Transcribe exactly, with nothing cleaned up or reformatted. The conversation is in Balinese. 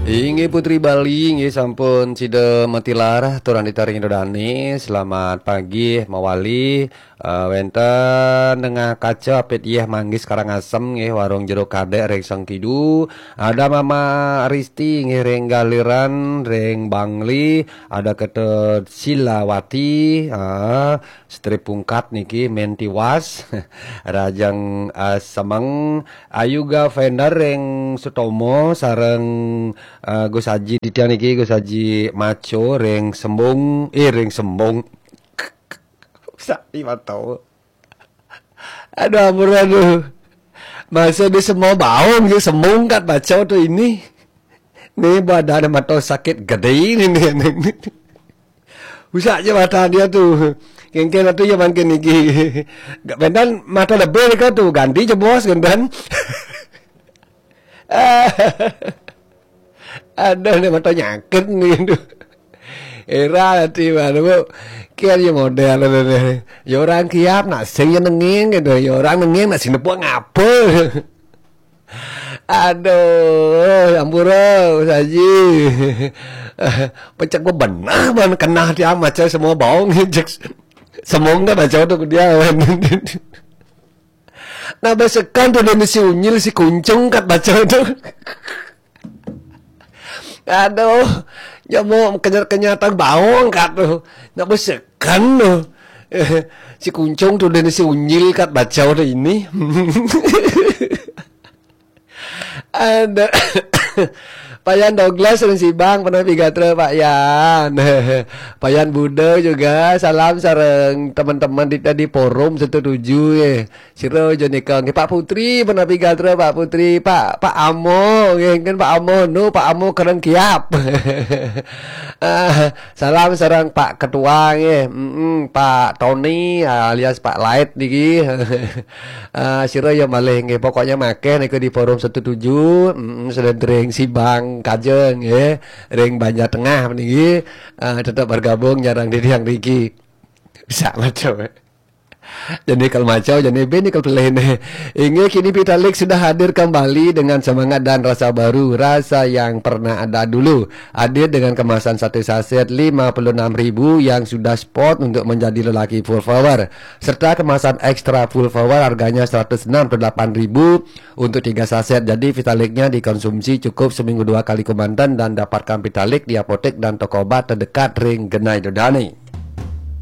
Inggih Putri Bali, inggih sampun sida matilar, turang ditaring Ida Dane. Selamat pagi, mawali. Eh, wenten Nengah Kaca, Apit Yeh Manggis Karangasem, nggih, Warung Jeruk Kadek ring Sengkidu. Ada Mama Risti, nggih, ring Galiran, ring Bangli. Ada Ketut Silawati, ah, Stri Pungkat niki, Mentiwas, Rajang, ah, Semeng, Ayuga Vendor ring Sutomo, sareng, ah, Gus Haji titiang niki, Gus Haji Maco ring Sembung, eh, ring Sembung. Sak iwat tau. Aduh, ampun, aduh. Masa di semua baung, di semungkat baca tu ini. Ni badan mata sakit gede ni, ni, ni, ni. Usak je mata dia tu. Kengken tu je makin niki. Gak bendan mata lebih kau tu, ganti je bos, gendan. Aduh, ni mata nyakit ni tu. Era nanti baru, bu. Kian je model tu ni. Ya orang kiap nak sing je nenging gitu. Ya orang nenging nak sing nepuk ngapa? Aduh, ampura, Gus Haji. Pecak gua benar ban kena dia macam semua baung. Cek semua enggak baca tu dia. Nah, besekan tu dia si unyil, si kuncung kat baca tu. Aduh, nyamuk kenyat-kenyatan baung kat tu. Nak besekan tu. Si kuncung tu dia si unyil kat baca tu ini. Ada Payan Douglas ring Sibang, pernah pigatra Pak Yan. Payan Buda juga, salam sareng teman-teman di, di forum satu tujuh ya. Sira aja nika nggih Pak Putri, pernah pigatra Pak Putri, Pak, Pak Amo, nggih kan Pak Amo, nu Pak Amo kereng kiap. Ah, salam sareng Pak Ketua nggih, mm, Pak Tony alias Pak Light niki. Ah, sira ya malih nggih, pokoknya makeh niku di forum satu tujuh, mm, sedentring Sibang Kajeng nggih, ring Banjar Tengah niki, ah, tetap bergabung nyarang di tiang niki. Bisa macam. Jadi kalau macam, jadi ben kalau pelih ni. Inggih, kini Pitalik sudah hadir kembali dengan semangat dan rasa baru, rasa yang pernah ada dulu. Hadir dengan kemasan satu saset lima puluh enam ribu yang sudah spot untuk menjadi lelaki full power, serta kemasan extra full power harganya seratus enam puluh delapan ribu untuk tiga saset. Jadi Vitaliknya dikonsumsi cukup seminggu dua kali kemanten dan dapatkan Vitalik di apotek dan toko obat terdekat ring Genai Dodani.